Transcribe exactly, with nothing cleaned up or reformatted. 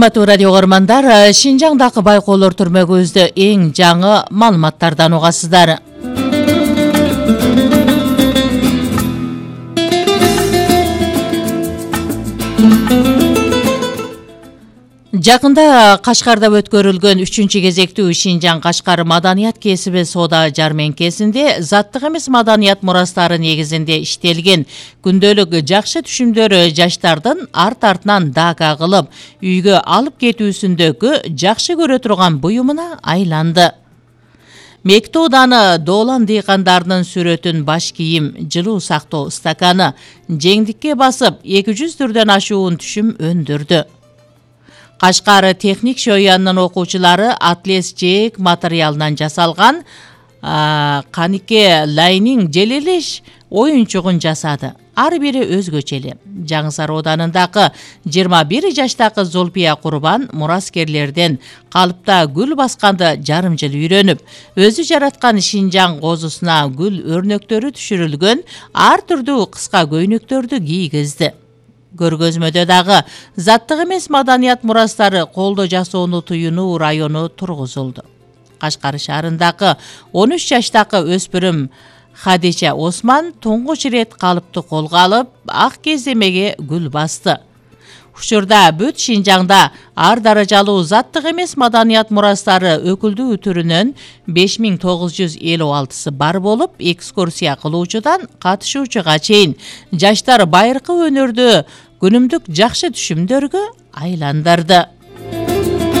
Урматтуу радио көрмандар, Шинжаңдагы байкоолор түрмөгүбүздө эң жаңы маалыматтардан угасыздар. Жакында Кашкарда өткөрүлгөн үчүнчү кезектүү Шинжаң Кашкар маданият кесиби соода жарменкесинде заттык эмес маданият мурастары негизинде иштелген күндөлүк жакшы түшүмдөр жаштардын арт-артынан дака кылып үйгө алып кетүүсүндөгү жакшы көрө турган буюмуна айланды. Мекто уданы доолан дыйкандарынын сүрөтүн баш кийим, жылуу сактоо стаканы жеңдикке басып эки жүз түрдөн ашуун түшүм өндүрдү. Кашкар техник шоянынын окуучулары атлес жээк материалынан жасалган канике лайнинг желелеш оюнчугун жасады. Ар бири өзгөчө эле. Жаңы Сароо ауданындагы жыйырма бир жаштагы Зулпия Курбан мураскерлерден калыпта гүл басканды жарым жыл үйрөнүп, өзү жараткан Шинжаң козусуна гүл өрнөктөрү түшүрүлгөн ар түрдүү кыска көйнөктөрдү кийгизди. Көргөзмөдө дагы заттык эмес маданият мурастары колдо жасоону туюнуу району тургузулду. Кашкар шаарындагы он үч жаштагы өспүрүм Хадича Осман туңгуч ирет калыпты колго алып, ак кеземеге гүл басты. Учурда бүт Шинжаңда ар даражалуу заттык эмес маданият мурастары өкүлдүү түрүнөн беш миң тогуз жүз элүү алтысы бар болуп, экскурсия кылуучудан катышуучуга чейин жаштар байыркы өнөрдү күнүмдүк жакшы түшүмдөргө айландырды.